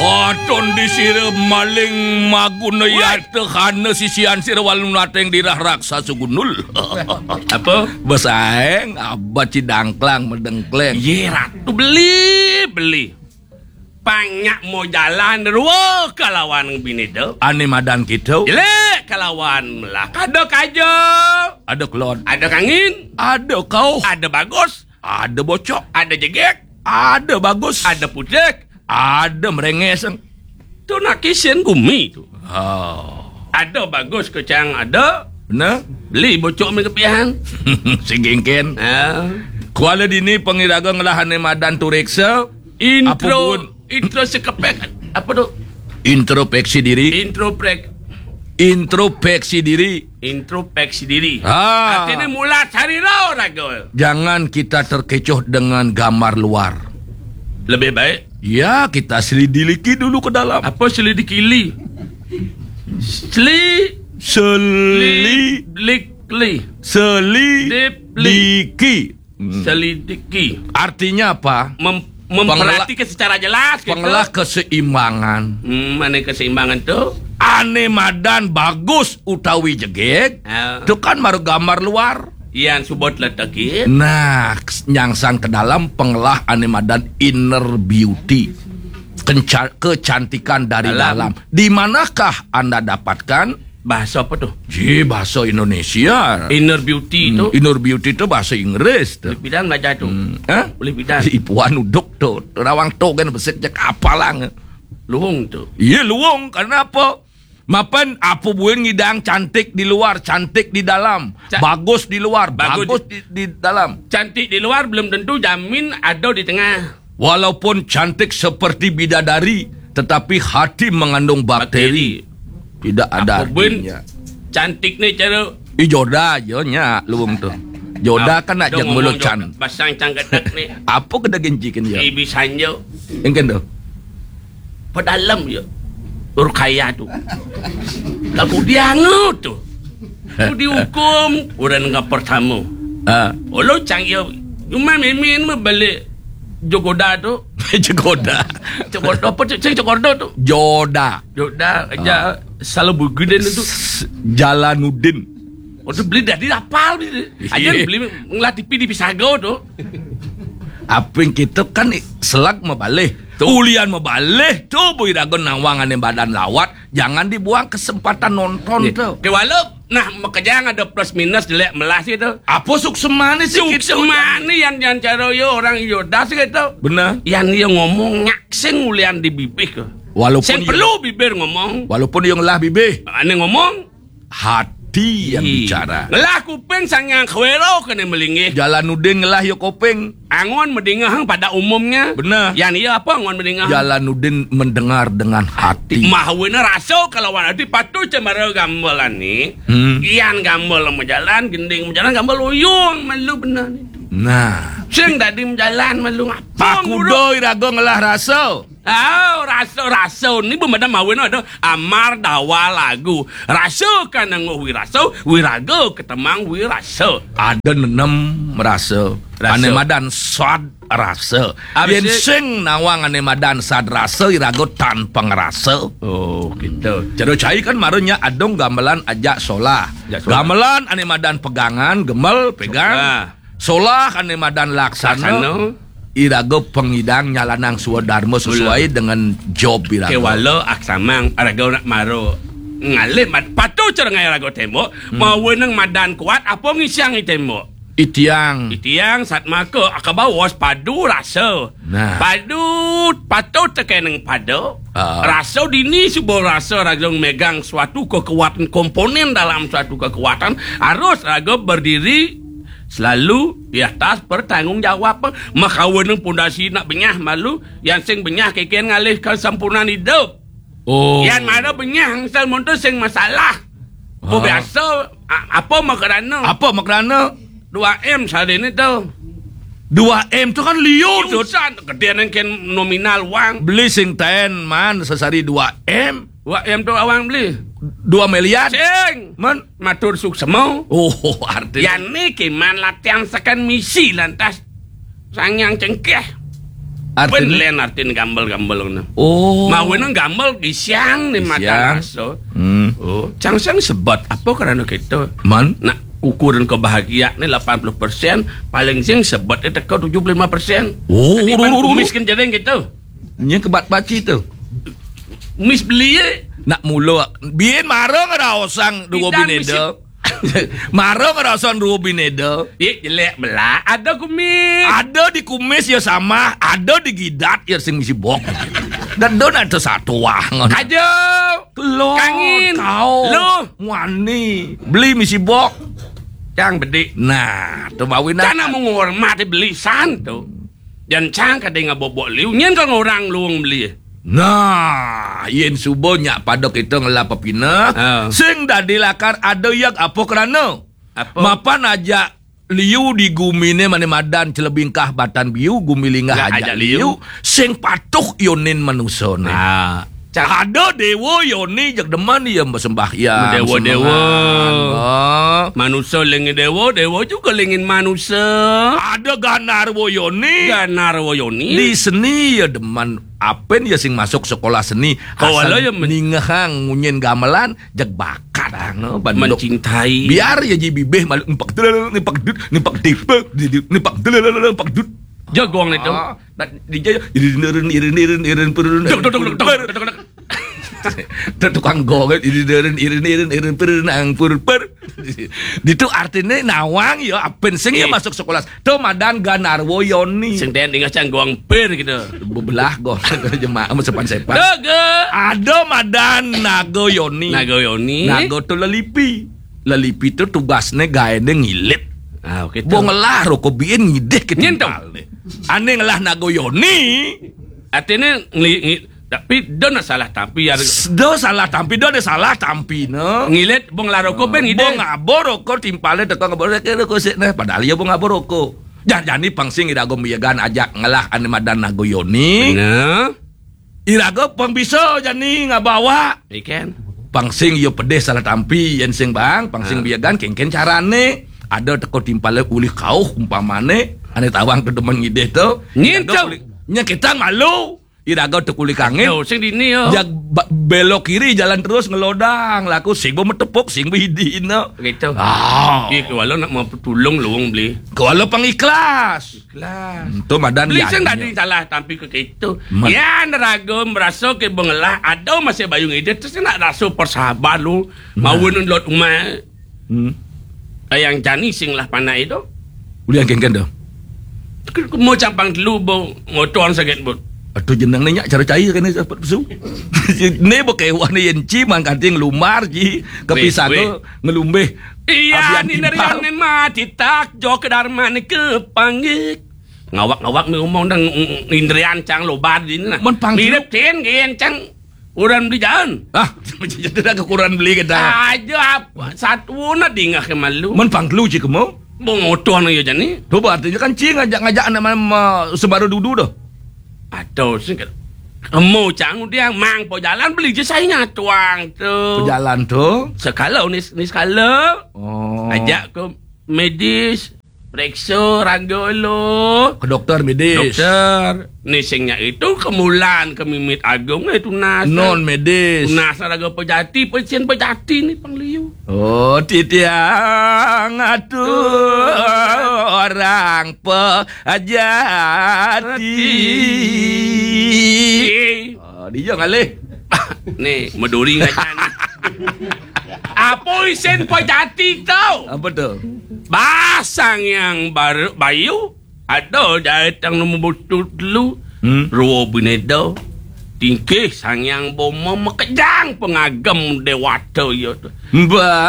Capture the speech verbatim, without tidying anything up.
Aton di sira maling maguna yata hana sisian sira walu nateng dirah raksasa gundul. Apa? Besaeng abat cidangklang medengkleng. Ye, Ratu, beli, beli. Panyak mau jalan rua kalawan binida. Ane madan kita. Jelek kalawan melah. Kada kaja. Ada kelon. Ada kangin. Ada kauh. Ada bagus. Ada bocok. Ada jegek. Ada bagus. Ada putik. Ada merenges. Tu nak kisin gumi tu. Oh. Ada bagus kecang ada. Benar? Beli bocok mi kepihan. Sigingkin. Ha. Kuala dini pengiraga ngelah ane madan turiksa. Intro. Apa pun? Intro sekepek. Apa tu? Introspeksi diri. Introspek. Introspeksi diri. Introspeksi diri. Ha. Artinya mula cari roh raga. Jangan kita terkecoh dengan gambar luar. Lebih baik. Ya, kita selidiki dulu ke dalam. Apa selidiki li? Seli. Seli. Li. Lik. Li. Seli. Dip. Li. Diki. Hmm. Selidiki. Artinya apa? Mem- memperhatikan secara jelas gitu. Pengelah keseimbangan. Hmm, mana keseimbangan tu? Ane madan bagus utawi jegeg, ha, tu kan baru gambar luar. Yang subot letakit. Nah, nyangsang ke dalam pengelah ane madan inner beauty. Kenca- kecantikan dari dalam. Dalam. Di manakah anda dapatkan? Bahasa apa tu? Ji, bahasa Indonesia. Inner beauty tu? Inner beauty tu bahasa Inggris tu. Boleh bidan belajar tu. Hmm. Ha? Boleh bidan. Ipuan uduk tu. Rawang tu kan besik je kapalang. Luung tu. Iya, luung. Karena apa? Mapan apa buin ngidang cantik di luar, cantik di dalam. Ca- bagus di luar, bagus, bagus di, di dalam. Cantik di luar belum tentu jamin ada di tengah. Walaupun cantik seperti bidadari, tetapi hati mengandung bakteri. Bakteri. Tidak ada artinya. Cantik ni cara. Ih, joda je nya luung tu. Joda kan nak jeng mulut can. Basang cang ketek ni. Apa kena genjikan je? Ibi sanjo. Engken tu. Pedalam je. Urkaya tu. Lagu dia tu. Tu dihukum orang dengan pertama. Ha. Olo cang yo. Cuma mimin balik Jogoda tu. Jogoda. Jogoda apa tu? Cing Jogoda tu. Joda. Joda aja. Ha. Salah bugudan tu. Jalanuddin. Oh, tu beli dah dia apal beli. Aja beli ngelah T V di Pisago tu. Apin kita kan selag mabalih. Tu. Ulian mabalih tu bui raga nawang ane badan lawat. Jangan dibuang kesempatan nonton tu. Ke walau nah, makejang ada plus minus jelek melas gitu. Apa suksemane sih? Suksemane yang, yang cara yo orang yo das gitu. Benar. Yang dia ngomong nyak sing ulian di bibih ke. Walaupun sing perlu bibir ngomong. Walaupun dia ngelah bibih. Ane ngomong hati yang bicara. Ngelah kuping sang yang khwero kene melingih. Jalanuddin ngelah yo kuping. Angon medingehang pada umumnya. Benar. Yang iya apa angon medingehang? Jalanuddin mendengar dengan hati. Mahwena rasa kalawan hati patuh cemara gambalan ni. Hmm. Ian gambal majalan, gending majalan, gambal uyung malu benar ni. Nah. Sing dadi majalan malu ngapung. Pakudo iraga ngelah rasa. Oh, rasa-rasa ni bemada mawin ada amar dawa lagu. Rasa kan nangguh wirasa, wiraga ketemang wirasa. Ada nenem merasa. Rasa. Ane madan sad rasa. Habis yen sing nawang ane madan sad rasa iraga tan pangrasa. Oh, gitu. Cara cai kan maranya adung gamelan ajak solah. Ajak solah. Gamelan ane madan pegangan, gemel, pegang. Nah. Solah ane madan laksana. Laksana. Iraga pengidang nyalanang swadarma sesuai dengan job iraga. Kewala aksamang iraga nak maro ngalih mat patuh cerengai iraga tembok, hmm, maweneng madan kuat apa ngisiang i tembok. Itiang. Itiang satmaka akabawas padu rasa. Nah. Padu patuh tekeneng pada. Ah. Rasa dini suba rasa raga megang suatu kekuatan komponen dalam suatu kekuatan harus raga berdiri selalu di atas pertanggungjawab. Makaweneng pondasi nak benyah malu, yang sing benyah keken ngalih kesempurnaan hidup. Oh. Yang mana benyah angsal monto sing masalah. Ah. Biasa a- apa makarana? Apa makarana? Dua M sehari ni tu. Dua M tu kan liu tu. Usan gede nang ken nominal wang. Beli sing ten man sesari dua M. Dua M tu awang beli. Dua miliar. Sing. Man. Matur suksema. Oh, arti. Yan ni kiman latihan sekan misi lantas sangyang cengkeh. Artiné? Pén lén artin gambel-gambel ngono. Oh. Mawinan gambel gisiang né matan rasa. Hmm. Oh, cang sing sebet apa krana kéto? Man? Nak ukuran kebahagiaan né lapan puluh persen, paling sing sebet teka tujuh puluh lima persen. Oh, miskin jering kéto. Nya kebat baci to. Mis beli. Nak mula, bin mara ngraosang dua binéda. Mara ngraosang dua binéda. Ih, jelék belak. Ada kumis. Ada di kumis ya sama, ada di gidat ya sing misi bok. Dan don ada satu wah ngono. Aja. Kelo. Kangin. Kau. Lu. Muani. Beli misi bok. Cang bedik. Nah, to mawinan. Cana mau ngormati beli san to. Jan cang kadé ngabobok liu, nyén ka ngorang luung beli. Nah, yén suba nyak pada kita ngelah pepineh, sing dadi lakar ada yag apa krana. Apa? Mapan ajak liu di guminé mané madan celebingkah batan biu, gumi linggah ajak liu, sing patuh yonin manusané. Ah, ada déwa yoni jeg demen ya sembahyang. Déwa-déwa. Sembahyang. Ah. Manusa ling déwa, déwa juga lingin manusa. Ada ganarwa yoni. Ganarwa yoni. Di seni ya demen. Apén ya sing masuk sekolah seni. Kawala asal ya men- ningehang ngunyin gamelan, jeg bakat, ah, no, banduk. Mencintai. Biar ya ji bibih malu empak delel, empak dut, empak dipe, di- di- empak delel, empak dut. Jagong itu. Ah, nah, di jaya, irin, irin, irin, irin, irin, perun, duk, duk, duk, duk, duk, duk, duk, duk. Tukang gong, irin, irin, irin, irin, irin, perun, ang, pur, per. Ditu artiné nawang ya, apén sing ya masuk sekolah. To madan ganarwa yoni. Sing ten dingeh cang gong pir gitu. Bebelah gong. Jemaah mah sepan-sepan. Ada madan naga yoni. Naga yoni. Naga to lelipi. Lelipi to tugasné gaéné ngilit. Ah, oke. Bo ngelah roko biin ngidih ke timpalné. Ané ngelah naga yoni. Artiné ngeli- ngi- Tapi do nak salah tampi ya. Do salah tampi, do ada salah tampi, no. Ngilit, bong laroko ben ngidih. Bong ngabor roko timpalé teko ngabor roko sik, nah, padahal ya bong ngabor roko. Jan jani pang sing iraga miyagan ajak ngelah ané madan naga yoni. Bener. Iraga pang bisa jani ngabawa. Ikan. Pang sing ya pedih salah tampi, yén sing bang, pang sing miyagan kénkén carané. Ada teko timpalé ulih kauh umpamané, ané tawang to demen ngidih to. Ngintu. Iraga ulih- Nya kita malu. Iraga tekuli kangin. Yo, sing dini yo. Jag ba- belok kiri jalan terus ngelodang. Laku sing bo metepuk, sing bo idina. Gitu. Ah. Iya, kewala nak mau tulung luung beli. Kewala pang ikhlas. Ikhlas. Hmm, tu madan beli ya, sing tadi salah tampi ke gitu. Ya, neraga merasa ke bengelah ada masih bayung ide terus nak rasa persahabat lu. Nah. Mau nun lot umai. Hmm. Ayang jani sing lah panai tu. Ulian kengken tu. Mau campang telu bo motor sakit bot. Aduh jenang ni nyak cara cair kan ni dapat pesu. Ni bo kewah ni yenci mangkating lumar ji kepisah ke ngelumbih. Iya ni nerian ni mati tak jo ke darman ni ke panggik. Ngawak-ngawak mi umong dang indrian cang lobar di ni nah. Mirip tin gen cang. Orang beli jalan. Ah, jadi dah kekurangan beli kita. Aja apa? Satu na dingah ke malu. Men pangkelu cik kemu. Bong otoh na ya jani. Coba artinya kan cing ngajak-ngajak anak ma- ma- sembara dudu dah. Atau sing ke- kemu cang udah mang po jalan beli je saya tuang tu. Pejalan tu. Sekala ni ni sekala. Oh. Ajak ke medis. Periksa raga lo. Ke doktor medis. Doktor. Ni sing nya itu kemulan ke mimit agung eh tunas. Non medis. Tunas raga pejati, pecin pejati ni pangliu. Oh, titiang atu orang pejati. Oh, dia ngalih. Ni meduri ngajan. Apa isin pejati tau? Apa tu? Bah Sang Yang Baru Bayu ada jahit yang nombor butuh dulu. Hmm. Ruo bineda. Tingkih Sang Yang Boma makejang pengagem dewata ya tu. Bah